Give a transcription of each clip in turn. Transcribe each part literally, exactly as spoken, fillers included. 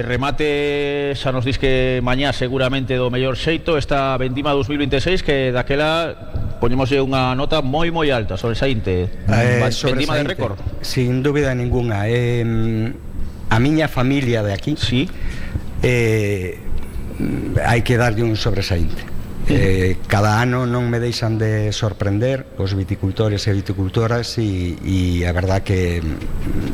Remate, xa nos dis que mañá seguramente do mellor xeito esta vendima dos mil veintiséis, que daquela poñemoslle unha nota moi moi alta sobre Saínte. Eh, vendima de récord. Sin dúbida ninguna. Eh, a miña familia de aquí, sí. eh, hai que darlle un sobresaínte. Eh, cada ano non me deixan de sorprender os viticultores e viticultoras, e, e a verdad que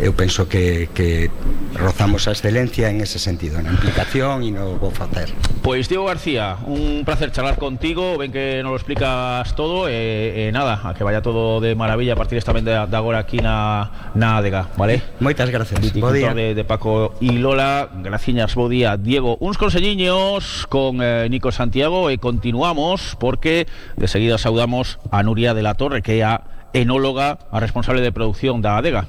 eu penso que, que rozamos a excelencia en ese sentido, na implicación e no bo facer. Pois Diego García, un placer charlar contigo, ven que nos lo explicas todo, e, e nada, a que vaya todo de maravilla a partir esta vez de, de agora aquí na, na Adega, vale? Moitas gracias. Viticultor de, de Paco e Lola, graciñas, bo día, Diego. Uns conselliños con eh, Nico Santiago e continuamos porque de seguida saudamos a Nuria de la Torre, que é a enóloga, a responsable de producción da Adega.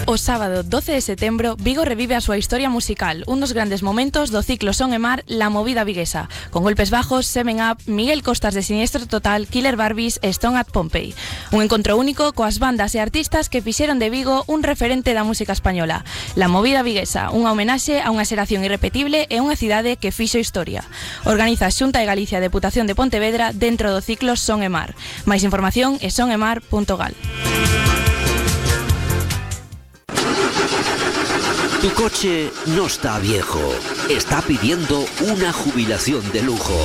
O sábado doce de setembro, Vigo revive a súa historia musical, un dos grandes momentos do ciclo Son e Mar, La Movida Viguesa, con Golpes Bajos, Seven Up, Miguel Costas de Siniestro Total, Killer Barbies e Stone at Pompey. Un encontro único coas bandas e artistas que fixeron de Vigo un referente da música española. La Movida Viguesa, unha homenaxe a unha xeración irrepetible e unha cidade que fixo historia. Organiza a Xunta de Galicia Deputación de Pontevedra dentro do ciclo Son e Mar. Máis información é son e mar punto gal. Tu coche no está viejo, está pidiendo una jubilación de lujo.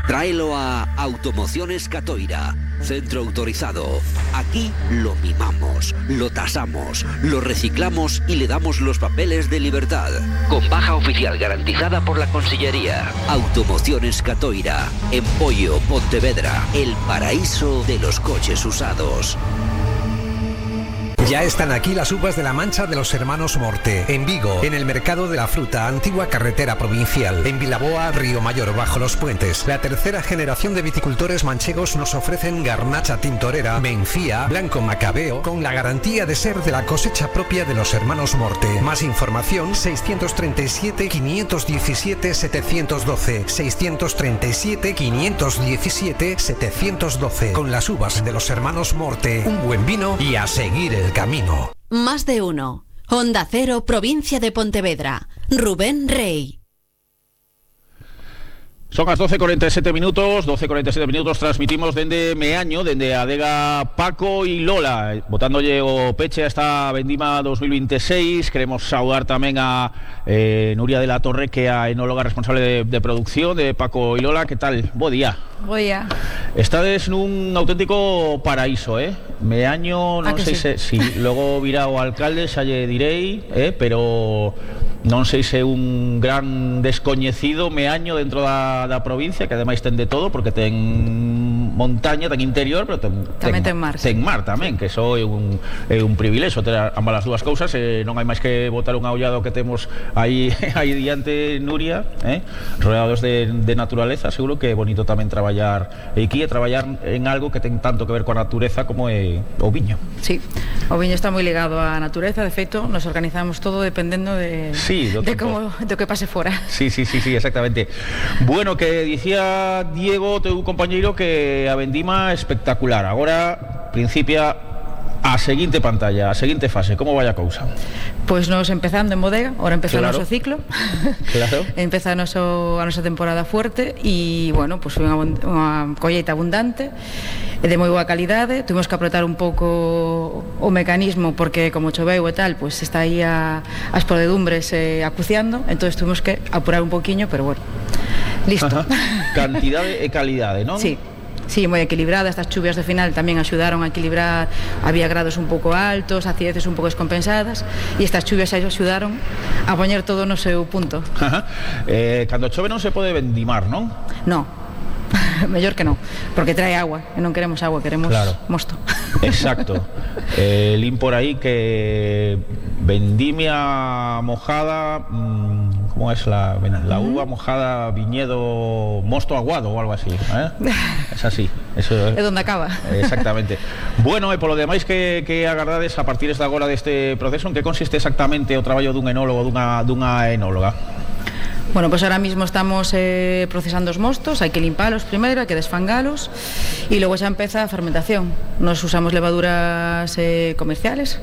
Tráelo a Automociones Catoira, centro autorizado. Aquí lo mimamos, lo tasamos, lo reciclamos y le damos los papeles de libertad. Con baja oficial garantizada por la Consellería. Automociones Catoira, en Pollo, Pontevedra, el paraíso de los coches usados. Ya están aquí las uvas de la Mancha de los hermanos Morte, en Vigo, en el Mercado de la Fruta, antigua carretera provincial, en Vilaboa, Río Mayor, bajo los puentes. La tercera generación de viticultores manchegos nos ofrecen Garnacha Tintorera, Mencía, Blanco Macabeo, con la garantía de ser de la cosecha propia de los hermanos Morte. Más información, seiscientos treinta y siete, quinientos diecisiete, setecientos doce, seiscientos treinta y siete, quinientos diecisiete, setecientos doce. Con las uvas de los hermanos Morte, un buen vino y a seguir el camino. Más de uno. Onda Cero, provincia de Pontevedra. Rubén Rey. Son as doce e cuarenta e sete minutos, doce e cuarenta e sete minutos, transmitimos dende Meaño, dende Adega Paco e Lola, botándolle o peche a esta vendima dos mil veintiséis. Queremos saudar tamén a eh, Nuria de la Torre, que é a enóloga responsable de, de producción de Paco e Lola. Que tal? Bo día. Bo día. Estades nun auténtico paraíso, eh? Meaño, non sei sí? se si logo virá o alcalde, xa lle direi, eh, pero non sei se un gran descoñecido Meaño dentro da, da provincia, que ademais ten de todo, porque ten montaña, ten interior, pero ten, tamén ten, ten mar, ten mar tamén, que iso é un, é un privilexio ter ambas as dúas cousas. E non hai máis que botar unha ollado que temos aí, aí diante, Nuria, eh? Rodeados de, de naturaleza. Seguro que é bonito tamén traballar aquí e traballar en algo que ten tanto que ver coa natureza como é o viño. Sí, o viño está moi ligado á natureza. De feito, nos organizamos todo dependendo de... Sí, de como do que pase fora. Sí, sí, sí, sí, exactamente. Bueno, que dicía Diego, teu compañeiro, que a vendima espectacular. Agora principia a seguinte pantalla, a seguinte fase. Como vai a cousa? Pois nos empezando en bodega, ahora empeza claro. o noso ciclo. Claro. Empeza a, noso, a nosa temporada fuerte e, bueno, pois foi unha, unha colleita abundante de moi boa calidade. Tuvimos que apretar un pouco o mecanismo porque como choveu e tal, pois está aí a, as podedumbres eh, acuciando, entonces tuvimos que apurar un poquinho, pero bueno, listo. Ajá. Cantidade e calidade, non? Sí. Sí, moi equilibrada. Estas chuvias de final tamén axudaron a equilibrar. Había grados un pouco altos, acideces un pouco descompensadas, e estas chuvias axudaron a poñer todo no seu punto. Ajá. Eh, cando chove non se pode vendimar, non? Non, mellor que non, porque trae agua e non queremos agua, queremos claro. mosto. Exacto. eh, Lin por aí que vendimia mojada, mmm, ¿cómo es la, la uva mojada, viñedo, mosto aguado o algo así, eh? Es así, eso é donde acaba. Exactamente. Bueno, e polo demais, que, que agardades a partir de agora deste proceso? En que consiste exactamente o traballo dun enólogo, dunha, dunha enóloga? Bueno, pues ahora mismo estamos eh, procesando os mostos, hai que limpalos primeiro, hai que desfangalos e logo xa empeza a fermentación. Nos usamos levaduras eh, comerciales